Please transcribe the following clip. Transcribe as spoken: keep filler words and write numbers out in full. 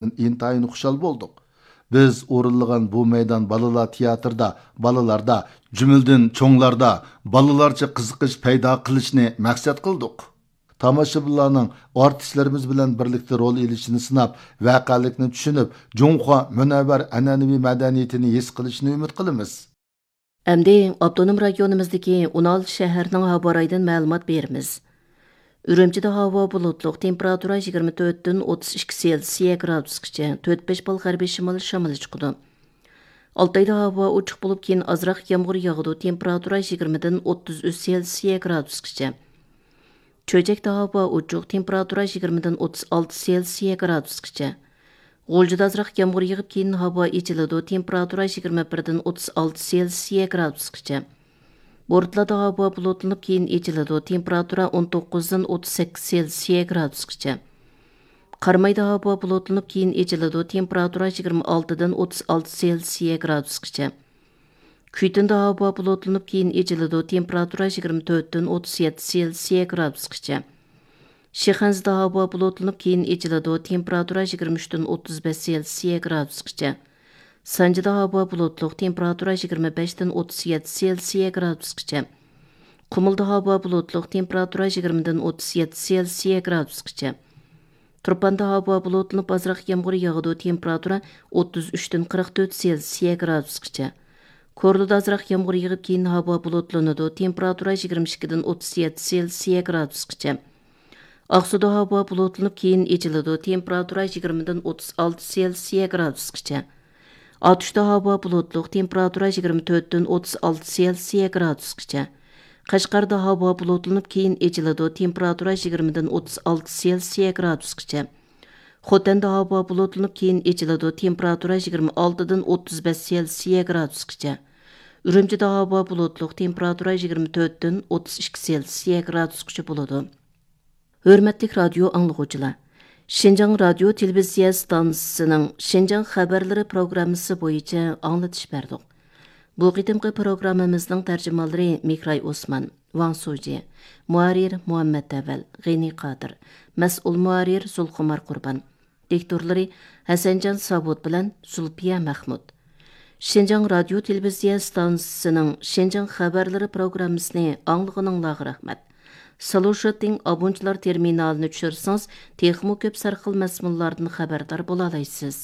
ئىنتايىن خۇشال بولدۇق. بىز ئورۇنلىغان بۇ مەيدان بالىلار تىياتىردا، بالىلاردا، جۈملىدىن چوڭلاردا بالىلارچە قىزىقىش پەيدا قىلىشنى مەقسەت قىلدۇق. تاماشىبىنلارنىڭ ئارتىسلىرىمىز بىلەن بىرلىكتە رول ئېلىشىنى سىناپ، ۋەقەلىكنى چۈشىنىپ، جۇڭخۇا مۇنەۋۋەر ئەنئەنىۋى مەدەنىيىتىنى ھېس قىلىشىنى ئۈمىد قىلىمىز. ئەمدى ئاپتونوم رايونىمىزدىكى ئون ئالتە شەھەرنىڭ ھاۋا رايىدىن مەلۇمات بېرىمىز. ئۈرۈمچىدە ھاۋا بۇلۇتلۇق، تېمپېراتۇرا يىگىرمە تۆتتىن ئوتتۇز ئىككى سېلسىيە گرادۇسقىچە، تۆت بەش بال غەربىي شىمال شامىلى چىقىدۇ. ئالتايدا ھاۋا ئوچۇق بولۇپ، كېيىن ئازراق يامغۇر ياغىدۇ، تېمپېراتۇرا يىگىرمىدىن ئوتتۇز ئۈچ سېلسىيە گرادۇسقىچە. چۆچەكتە ھاۋا ئوچۇق، تېمپېراتۇرا يىگىرمىدىن ئوتتۇز ئالتە سېلسىيە گرادۇسقىچە. غۇلجىدا ئازراق يامغۇر يېغىپ، كېيىن ھاۋا ئېچىلىدۇ، تېمپېراتۇرا يىگىرمە بىردىن ئوتتۇز ئالتە سېلسىيە گرادۇسقىچە. بورتالادا ھاۋا بۇلۇتلىنىپ، كېيىن ئېچىلىدۇ، تېمپېراتۇرا ئون توققۇزدىن ئوتتۇز سەككىز سېلسىيە گرادۇسقىچە. قارامايدا ھاۋا بۇلۇتلىنىپ، كېيىن ئېچىلىدۇ، تېمپېراتۇرا يىگىرمە ئالتىدىن ئوتتۇز ئالتە سېلسىيە گرادۇسقىچە. كۈيتۇندا ھاۋا بۇلۇتلىنىپ، كېيىن ئېچىلىدۇ، تېمپېراتۇرا يىگىرمە تۆتتىن ئوتتۇز يەتتە سېلسىيە گرادۇسقىچە. شىخەنزىدە ھاۋا بۇلۇتلىنىپ، كېيىن ئېچىلىدۇ، تېمپېراتۇرا يىگىرمە ئۈچتىن ئوتتۇز بەش سېلسىيە گرادۇسقىچە. سانجىدا ھاۋا بۇلۇتلۇق، تېمپېراتۇرا يىگىرمە بەشتىن ئوتتۇز يەتتە سېلسىيە گرادۇسقىچە. قۇمۇلدا ھاۋا بۇلۇتلۇق، تېمپېراتۇرا يىگىرمىدىن ئوتتۇز يەتتە سېلسىيە گرادۇسقىچە. تۇرپاندا ھاۋا بۇلۇتلىنىپ، ئازراق يامغۇر ياغىدۇ، تېمپېراتۇرا ئوتتۇز ئۈچتىن قىرىق تۆت سېلسىيە گرادۇسقىچە. كورلىدا ئازراق يامغۇر يېغىپ، كېيىن ھاۋا بۇلۇتلىنىدۇ، تېمپېراتۇرا يىگىرمە ئىككىدىن ئوتتۇز يەتتە سېلسىيە گرادۇسقىچە. ئاقسۇدا ھاۋا بۇلۇتلىنىپ، كېيىن ئېچىلىدۇ، تېمپېراتۇرا يىگىرمىدىن ئوتتۇز ئالتە سېلسىيە گرادۇسقىچە. ئاتۇشتا ھاۋا بۇلۇتلۇق، تېمپېراتۇرا يىگىرمە تۆتتىن ئوتتۇز ئالتە سېلسىيە گرادۇسقىچە. قەشقەردە ھاۋا بۇلۇتلىنىپ، كېيىن ئېچىلىدۇ، تېمپېراتۇرا يىگىرمىدىن ئوتتۇز ئالتە سېلسىيە گرادۇسقىچە. خوتەندە ھاۋا بۇلۇتلىنىپ، كېيىن ئېچىلىدۇ، تېمپېراتۇرا يىگىرمە ئالتىدىن ئوتتۇز بەش سېلسىيە گرادۇسقىچە. ئۈرۈمچىدە ھاۋا بۇلۇتلۇق، تېمپېراتۇرا يىگىرمە تۆتتىن ئوتتۇز ئىككى سېلسىيە گرادۇسقىچە بولىدۇ. ھۆرمەتلىك رادىيو ئاڭلىغۇچىلار! شىنجاڭ رادىيو تېلېۋىزىيە ئىستانسىسىنىڭ شىنجاڭ خەۋەرلىرى پروگراممىسى بويىچە ئاڭلىتىش بەردۇق. بۇ قېتىمقى پروگراممىمىزنىڭ تەرجىمانلىرى مېھراي ئوسمان، ۋاڭ سۇجى، مۇھەررىر مۇھەممەت ئەۋەل، غېنى قادىر، مەسئۇل مۇھەررىر زۇلخۇمار قۇربان، دىكتورلىرى ھەسەنجان ساۋۇت بىلەن زۇلپىيە مەخمۇت. شىنجاڭ رادىيو تېلېۋىزىيە ئىستانسىسىنىڭ شىنجاڭ خەۋەرلىرى پروگراممىسىنى ئاڭلىغىنىڭلارغا رەھمەت. سلۇشىتىڭ ئابونچىلار تېرمىنالىنى چۈشۈرسىڭىز، تېخىمۇ كۆپ سەرخىل مەزمۇنلاردىن خەۋەردار بولالايسىز.